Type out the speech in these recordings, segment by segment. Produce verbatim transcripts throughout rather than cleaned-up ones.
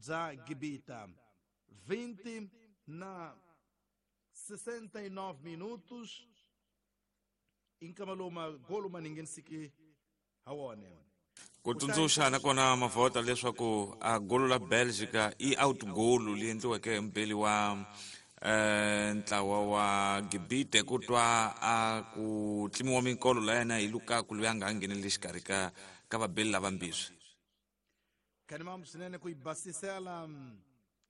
bya Gibita. vinte na sessenta e nove minutos inkamaloma golo maningenisiki hawone. Ku tsundzuxa nakona mavhota leswaku a golo la Belgica i out goal leyi endliweke hi mubeli wa eh ntlawa wa Gibite ku twa a ku tlimiwa minkolo la yena hi Lukaku loyi a nga ngheneli xikarhi ka ka vabeli lavambirhi. Kanimam swinene ku yi basisela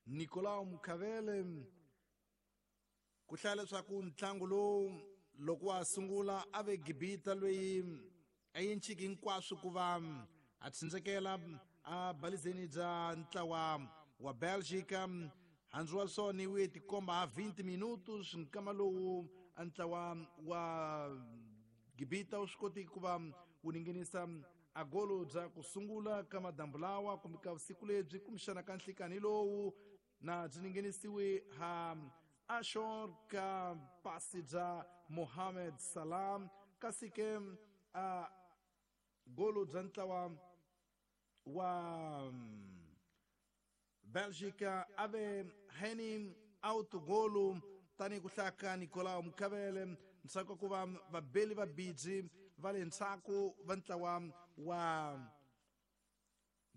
Nicolau Mukavele ku hlaya leswaku ntlangu lowu loko wa sungula a ve Gibita loyi a yinciki hinkwaswo ku va a tsindzekela a balizeni bya ntlawa wa Belgica. Handzu wa swona wu tikomba ha vinte minutos nkama lowu ntlawa wa Gibita wu swi koti ku va wu ninginisa a golo bya ku sungula ka madambu lawa kumbe ka vusiku lebyi kumbexana ka nhlikani lowu na byi ninginisiwe ha Ashor ka pasi bya Mohamed Salah, kasi ke a golo bya ntlawa wa Belgica ave Henny autogolo tani ku hlaka Nicolau Mukavele ntsako ku va vabeli va bidzi va le ntsako va ntlawa wa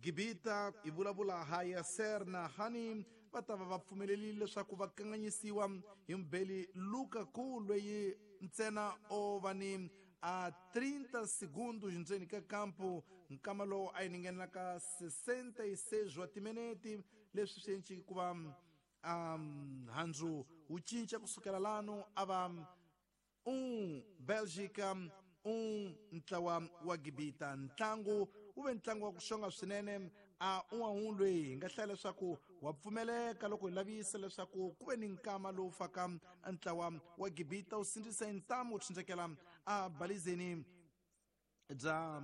Gibita i vulavula ha Yasser na Hani va ta va va pfumelelile leswaku va kanganyisiwa hi mubeli Lukaku loyi ntsena o va ni a trinta segundos ndzeni ka kampo nkama lowu a yi ningenelaka sessenta e seis wa timinete leswi swi enci ku va um, handzu wu cinca kusukela lano a va um Belgica um ntlawa wa Gibita. Ntlangu wu ve ntlangu wa ku xonga swinene a un'wana loyi hi nga hlaya leswaku wa pfumeleka loko hi lavisa leswaku ku ve ni nkama lowu faka ntlawa wa Gibita wu sindzisa hi ntamu wu tsindzekela a balizeni bya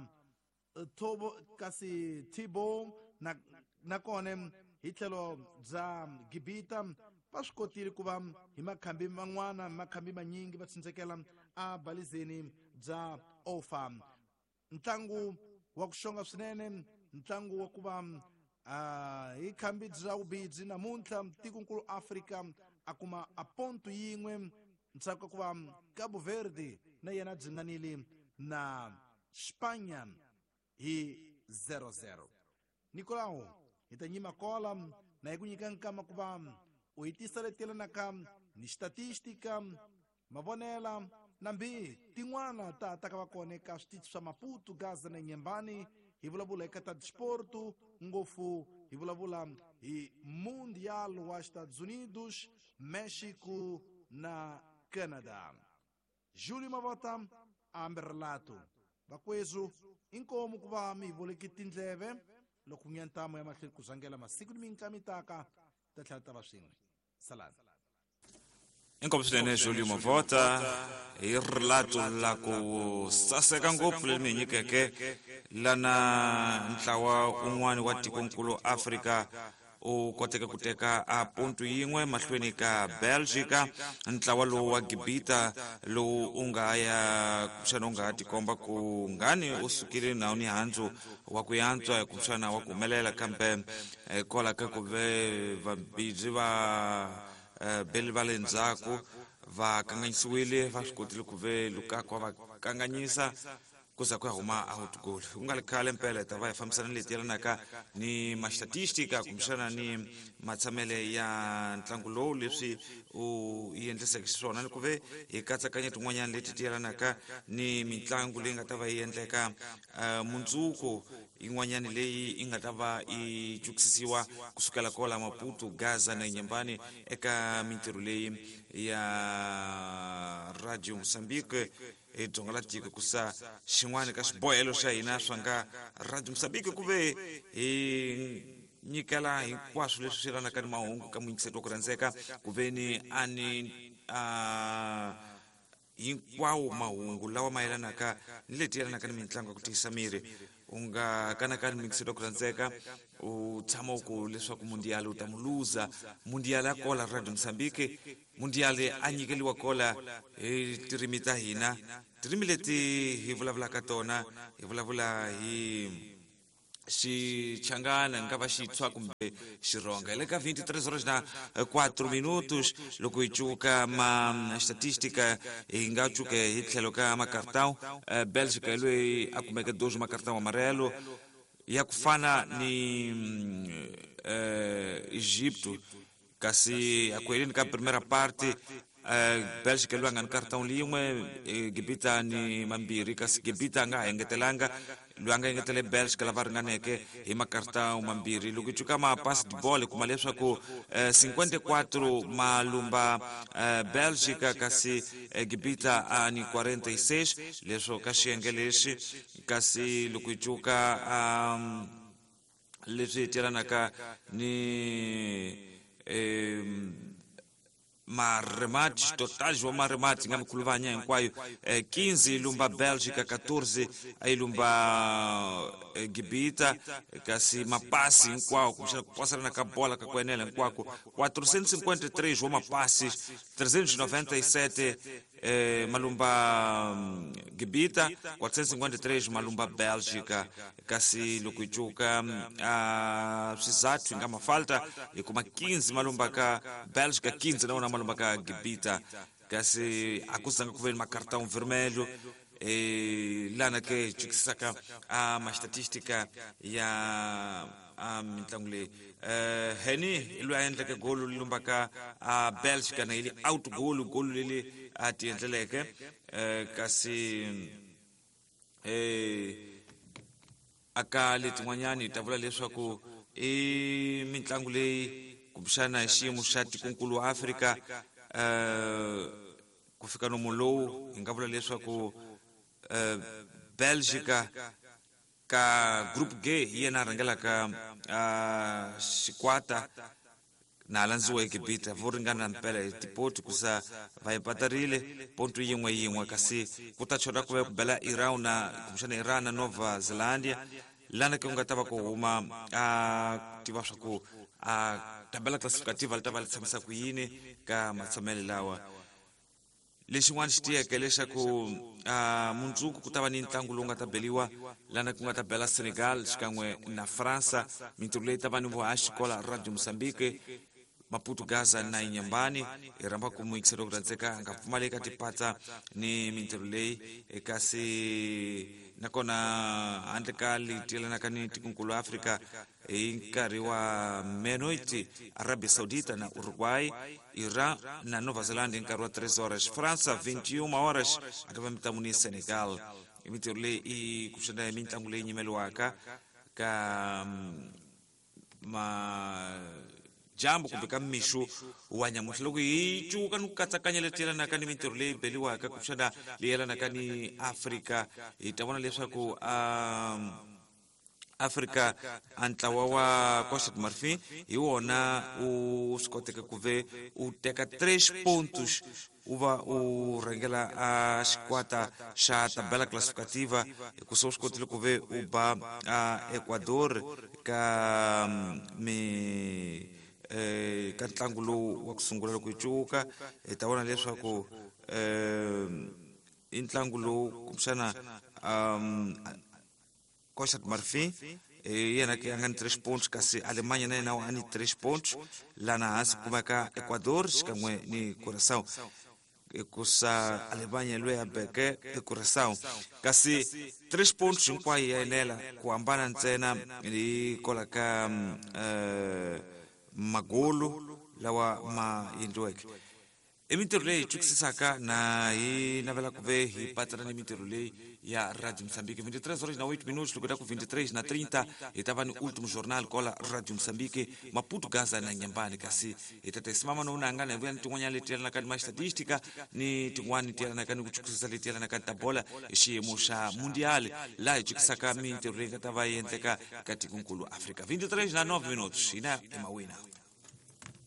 Thobo kasi Thibo na nakona hi tlhelo bya Gibita va swi kotile ku va hi makhambi man'wana makhambi manyingi va tsindzekela a balizeni bya Ofa. Ntlangu wa ku xonga swinene, ntlangu wa ku va hi khambi bya vubidzi namuntlha tikonkulu Afrika a kuma a ponto yin'we ntsako ku va Cabo Verde na yena dzinganile na Spanya hi zero zero. Nicolau hi ta nyima kola na hi ku nyika nkama ku va u hi tisa leti yelanaka ni statistika mavonela nambi tin'wana ta ta ka va kona eka switichi swa Maputo, Gaza na Nyembani. Hi vulavula eka ta disporto ngopfu hi vulavula hi Mundial wa Estados Unidos, Mexico na Canada. Júlio Mavota amberlato vakwezu inkomu ku va mi voleki tindleve loko nyantamu ya mahlweni ku zangela masiku ni minkamitaka ta tlhela ta va swin'we. Salani. Inkomu swinene Júlio Mavota hi rilato la ku saseka ngopfu leri mi nyikeke lana ntlawa un'wana wa tikonkulu Afrika u koteke ku teka a ponto yin'we mahlweni ka Belgica. Ntlawa lowu wa Gibita lowu u nga ya kumbexana u nga tikomba ku ngani u sukile nawu ni handzu wa ku yantswa kumbexana wa ku humelela, kambe kwala ka ku ve vabidzi va beli va le ndzhaku va kanganyisiwile, va swi kotile ku ve Lukaku va kanganyisa ku za ku ya huma out goal. Ku nga ri khale mpela ta va hi fambisana leti yelanaka ni mastatistika kumbexana ni matshamele ya ntlangu lowu leswi u endliseke xiswona, ni ku ve hi katsakanya tin'wanyana leti ti yelanaka ni mitlangu leyi nga ta va yi endleka mundzuku, yin'wanyana leyi yi nga ta va yi cukisisiwa kusukela kola Maputo, Gaza na Nyembani eka mintirho leyi ya Radio Mozambique hi dzonga la tiko. Ku sa xin'wana ka swibohelo swa hina swa nga Radio Mozambique ku ve hi nyikela hinkwaswo leswi swi yelanaka ni mahungu ka muyingiseri wa ku rhandzeka, ku ve ni a ni a hinkwawo mahungu lawa ma yelanaka ni leti yelanaka ni mitlangu ya ku tiyisa miri. U nga kanakani muyingiseri wa ku rhandzeka u tshama u ku leswaku mundial u ta mu luza. Mundial ya kola Radio Mozambique, mundial a nyikeliwa kola hi tirimi ta hina, tirimi leti hi vulavulaka tona, hi vulavula hi Xichangana nga va xitshwa kumbe xironga. Hi le ka vinte e três horas na quatro minutos. Loko hi cuka ma estatística, hi nga cuka hi tlhelo ka macartão, Bélgica hi loyi a kumeke dois macartão amarelo ya ku fana ni eh, Egipto, kasi a ku heleni ka primeira parte uh, Bélgica loyi a nga ni cartão lin'we, Gibita ni mambirhi, kasi Gibita a nga ha engetelanga, loyi a nga engetele Bélgica lava ringaneke hi macartão mambirhi. Loko hi cuka mapasi de bola, kuma leswaku eh, cinquenta e quatro malumba eh, Bélgica, kasi eh, Gibita a ni quarenta e seis, leswo ka xiyenge lexi. Kasi loko hi cuka um, leswi yelanaka ni eh, maremates totais wa maremates nga mikhuluvanya hinkwayo, eh, quinze lumba Bélgica, catorze a lumba eh, Gibita, kasi mapasi hinkwawo kumbexana ku pasarana ka bola ka ku enela hinkwako, quatrocentos e cinquenta e três wa mapasses, trezentos e noventa e sete eh, malumba Gibita, quatrocentos e cinquenta e três malumba Bélgica. Kasi loko hi cuka uh, swizathu hi nga mafalta, hi kuma quinze malumba ka Bélgica, quinze na wona malumba ka Gibita, kasi a ku zanga ku ve ni macartão vermelho. eh, lana ke hi cukisaka a ma statistica ya a mitlangu leyi. eh Heni hi loyi a endleke golo lumbaka a Bélgica na yi out goal, golo leri a ti endleleke. eh kasi eh aka letin'wanyani hi ta vula leswaku i mitlangu leyi kumbexana hi xiyimo xa tikonkulu wa Afrika, eh ku fika nomu lowu hi nga vula leswaku eh Belgica ka group G hi yena a rhangelaka uh, xikwata na landziwa Egipta, vo ringana mpela hi tipoti kusa va empatarile ponto yin'we yin'we. Kasi ku ta chota ku va ku bela Iran na kumbexana Iran na Nova Zelandia, lana ke ku nga ta va ku huma a tiva swa ku a tabela classificativa li ta va li tshamisa ku yini ka matshamelo lawa. Lexin'wana xi tiyeke leswaku uh, mundzuku ku ta va ni ntlangu lowu nga ta beliwa lana ku nga ta bela Senegal xikan'we na Fransa. Mintirho leyi ta va ni vuhaxi kola Radio Mozambique, Maputo, Gaza na Inyambani. Hi rhamba ku muyingiseri ku rhandzeka a nga pfumaleki tipatsa ni mintirho leyi. Kasi nakona handle ka leti yelanaka ni tikonkulu Afrika, hi nkarhi wa menoit, Arabia Saudita na Uruguay, Iran na Nova Zelanda hi nkarhi wa três horas, França vinte e uma horas a ta va mitlangu ni Senegal. I mintirho leyi i kuxana mitlangu leyi nyimeliwaka ka ma jambo kumbe ka mixo wa nyamuntlha. Loko hi cuka ni ku katsakanya leti yelanaka ni mintirho leyi beliwaka kumbexana leyi yelanaka ni Afrika, hi ta vona leswaku um, Afrika a ntlawa wa Costa de Marfin hi wona u swi koteke ku ve u teka três pontos, u va u rhangela a xikwata xa tabela classificativa, hikusa u swi kotile ku ve u ba a Ecuador ka mi eh ka ntlangu lowu wa ku sungula. Loko hi cuka hi ta vona leswaku eh i ntlangu lowu kumbexana um Costa de Marfin hi yena ke a nga ni três pontos, kasi Alemanha na yena a ni três pontos. Lana hansi kumeka Ecuador xikan'we ni Curaçao, hikusa Alemanha loyi a beke eCuraçao, kasi três pontos hinkwayo ya enela, ku hambana ntsena hi kola ka eh, magolo lawa ma endliweke. I mintirho leyi hi twisisaka na hi navela ku ve hi patsana ni mintirho leyi ya Radio Moçambique. vinte e três horas na oito minutos. Loko ta ku vinte e três na trinta hi ta va ni último jornal kola Radio Moçambique, Maputo, Gaza na Nyambani. Kasi hi ta tesimama no nanga na vuya ni tin'wanyana leti yelanaka ni ma-statistica ni tin'wani ti yelanaka ni ku chukusisa leti yelanaka ni ta bola hi xiyimo xa mundial, laha hi chukisaka mintirho leyi nga ta va yi endleka ka tikonkulu Afrika. vinte e três na nove minutos, hina i mawina.